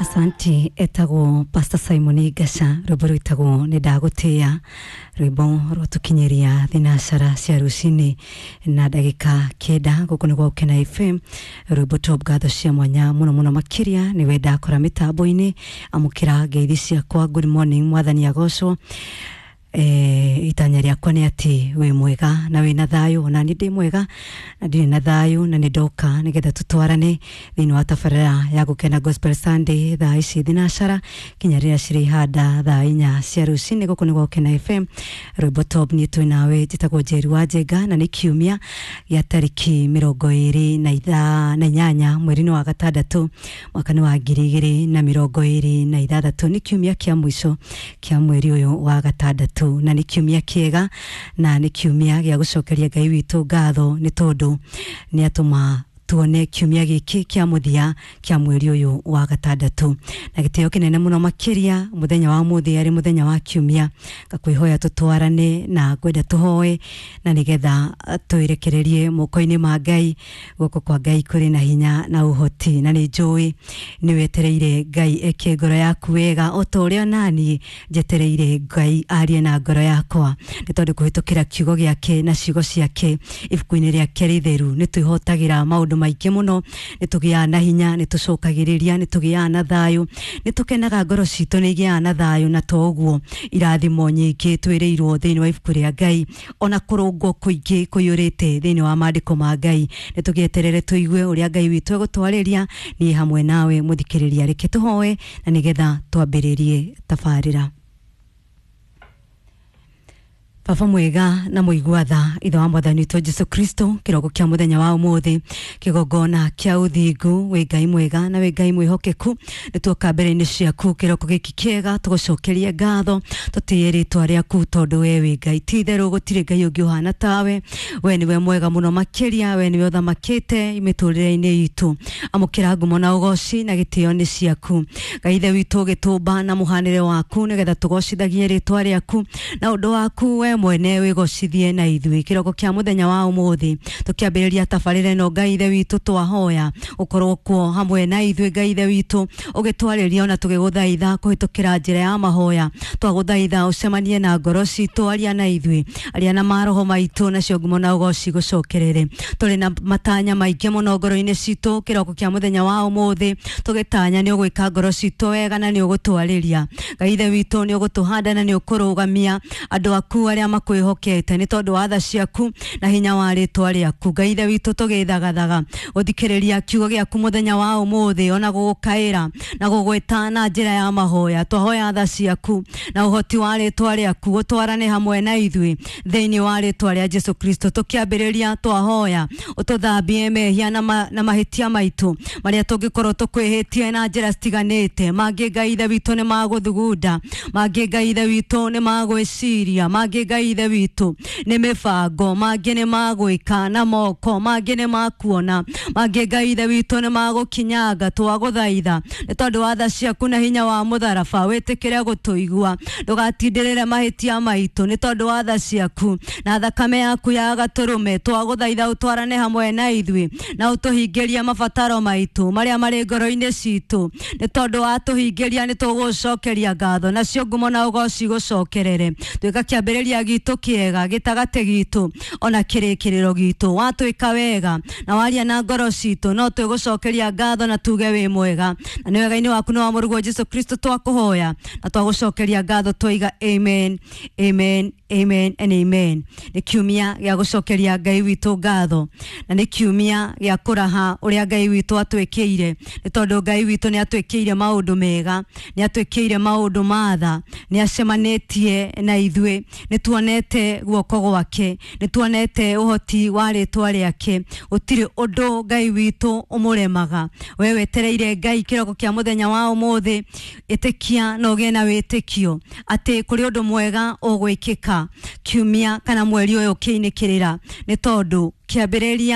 Asante. Etagwo Pastor Simon Gasha, rwimbo rwitagwo nĩ ndagũtĩĩa, rwimbo rwatũkinyĩria thinacara cia rũcinĩ na ndagĩka 9 gũkũ nĩ gwa Ũkena FM. Rwimbo top, ngatho cia mwanya mũno mũno makĩria nĩwe ndakora mĩtambo-inĩ. Amũkĩra ngeithi ciakwa, good morning, mwathani agocwo. Itanya rĩakwa nĩ atĩ wĩ mwega na wĩ na thayũ, ona niĩ ndĩ mwega na ndirĩ na thayũ, na nĩ ndoka nĩgetha tũtwarane thĩinĩ wa tabarĩra ya Gũkena Gospel Sunday thaa ici thinacara kinya rĩrĩa cirĩ ihanda thaa 4 cia rũcinĩ gũkũ nĩ gwa Ũkena FM. Rwĩmbo top, niĩ twĩ nawe, njĩtagwo Njeri wa Njenga, na nĩ kiumia gĩa tarĩki 28 mweri-inĩ wa gatandatũ mwaka-inĩ wa 2026. Nĩ kiumia kĩa mũico kĩa mweri ũyũ wa gatandatũ, na nĩ kiumia kĩega na nĩ kiumia gĩa gũcokeria Ngai witũ ngatho nĩ tondũ nĩ atũma tuone kiumia gĩkĩ kĩa mũthia kĩa mweri ũyũ wa gatandatũ. Na gĩtĩo kĩnene mũno makĩria mũthenya wa ũmũthĩ arĩ mũthenya wa kiumia, ngakwĩhoya tũtwarane na ngwenda tũhoe na nĩgetha twĩrekererie moko-inĩ ma Ngai. Guoko kwa Ngai kũrĩ na hinya na ũhoti, na nĩ njũĩ nĩ wetereire Ngai eke ngoro yaku wega o ta ũrĩa naniĩ njetereire Ngai arie na ngoro yakwa, nĩ tondũ kũhĩtũkĩra kiugo gĩake na ciugo ciake ibuku-inĩ rĩake rĩtheru nĩ twĩhotagĩra maũndũ maingĩ mũno, nĩ tũgĩaga na hinya, nĩ tũcokagĩrĩria, nĩ tũgĩaga na thayũ, nĩ tũkenaga, ngoro citũ nĩ igĩaga na thayũ, na to ũguo irathimo nyingĩ twĩrĩirwo thĩinĩ wa ibuku rĩa Ngai, ona kũrũngwo kũingĩ kũiyũrĩte thĩinĩ wa maandĩko ma Ngai. Nĩ tũgĩeterere tũigue ũrĩa Ngai witũ egũtwarĩria. Niĩ hamwe nawe mũthikĩrĩria, reke tũhoe na nĩgetha twambĩrĩrie tabarĩra. Baba mwega na mũigua tha, ithe wa mwathani witũ Jesu Kristo, kĩroko kĩa mũthenya wa ũmũthĩ, kĩgongona kĩa ũthingu, wĩ Ngai mwega na wĩ Ngai mwĩhokeku. Nĩ tuoka mbere-inĩ ciaku kĩroko gĩkĩ kĩega tũgũcokerie ngatho, tũtĩye rĩtwa rĩaku tondũ we wĩ Ngai. Ti itherũ gũtirĩ Ngai ũngĩ ũhana tawe. We nĩwe mwega mũno makĩria, we nĩwe ũthamakĩte mĩtũrĩre-inĩ itũ. Amũkĩra ngumo na ũgoci na gĩtĩo nĩ ciaku. Ngai ithe witũ, ũgĩtũmba na mũhanĩre waku nĩgetha tũgocithagie rĩtwa rĩaku na ũndũ waku we mwene wĩgocithie na ithuĩ. Kĩroko kĩa mũthenya wa ũmũthĩ tũkĩambĩrĩria tabarĩra ĩno, Ngai ithe witũ, twahoya ũkorwo kuo hamwe na ithuĩ. Ngai ithe witũ, ũgĩtwarĩria ona tũgĩgũthaitha kũhĩtũkĩra njĩra ya mahoya, twagũthaitha ũcemanie na ngoro citũ, aria na ithuĩ, aria na maroho maitũ, nacio ngumo na ũgoci gũcokerere. Tũrĩ na matanya maingĩ mũno ngoro-inĩ citũ kĩroko kĩa mũthenya wa ũmũthĩ, tũgĩtanya nĩ ũgwĩka ngoro citũ wega na nĩ ũgũtwarĩria. Ngai ithe witũ, nĩ ũgũtũhanda na nĩ ũkũrũgamia andũ aku arĩa makwĩhokete nĩ tondũ wa tha ciaku na hinya wa rĩtwa rĩaku. Ngai ithe witũ, tũgĩthagathaga gũthikĩrĩria kiugo gĩaku mũthenya wa ũmũthĩ, ona gũgũkaĩra na gũgwĩta na njĩra ya mahoya, twahoya tha ciaku na ũhoti wa rĩtwa rĩaku ũtwarane hamwe na ithuĩ thĩinĩ wa rĩtwa rĩa Jesu Kristo. Tũkĩambĩrĩria, twahoya ũtũthambie mehia na mahĩtia maitũ marĩa tũngĩkorwo tũkwĩhĩtie na njĩra citiganĩte. Mangĩ, Ngai ithe witũ, nĩ magũthugunda, mangĩ, Ngai ithe witũ, nĩ magwĩciria, mangĩ, Ngai ithe witũ, nĩ mĩbango, mangĩ nĩ magwĩka na moko, mangĩ nĩ makuona, mangĩ, Ngai ithe witũ, nĩ magũkinyanga. Twagũthaitha nĩ tondũ wa tha ciaku na hinya wa mũtharaba wĩtĩkĩre gũtũigua, ndũgatindĩrĩre mahĩtia maitũ. Nĩ tondũ wa tha ciaku na thakame yaku ya gatũrũme, twagũthaitha ũtwarane hamwe na ithuĩ na ũtũhingĩrie mabataro maitũ marĩa marĩ ngoro-inĩ citũ. Nĩ tondũ watũhingĩria, nĩ tũgũcokeria ngatho, nacio ngumo na ũgoci gũcokerere. Twĩka kĩambĩrĩria gitũ kĩega, gĩtagatĩ gitũ, ona kĩrĩkĩrĩro gitũ. Watwĩka wega na waria na ngoro citũ, no twĩgũcokeria ngatho na tuge wĩ mwega, na nĩ wega-inĩ waku nĩ wa mũrũguo Jesu Kristo twakũhoya na twagũcokeria ngatho, twaiga amen, amen, amen and amen. Nĩ kiumia gĩa gũcokeria Ngai witũ ngatho na nĩ kiumia gĩa kũraha ũrĩa Ngai witũ atwĩkĩire, nĩ tondũ Ngai witũ nĩ atwĩkĩire maũndũ mega, nĩ atwĩkĩire maũndũ matha, nĩ acemanĩtie na ithuĩ, nĩ tuonete guoko gwake, nĩ tuonete ũhoti wa rĩtwa rĩake. Gũtirĩ ũndũ Ngai witũ ũmũremaga. We wetereire Ngai kĩroko kĩa mũthenya wa ũmũthĩ, ĩtĩkia na ũgĩe na wĩtĩkio atĩ kũrĩ ũndũ mwega ũgwĩkĩka kiumia kana mweri ũyũ ũkĩinĩkĩrĩra, nĩ tondũ kĩambĩrĩria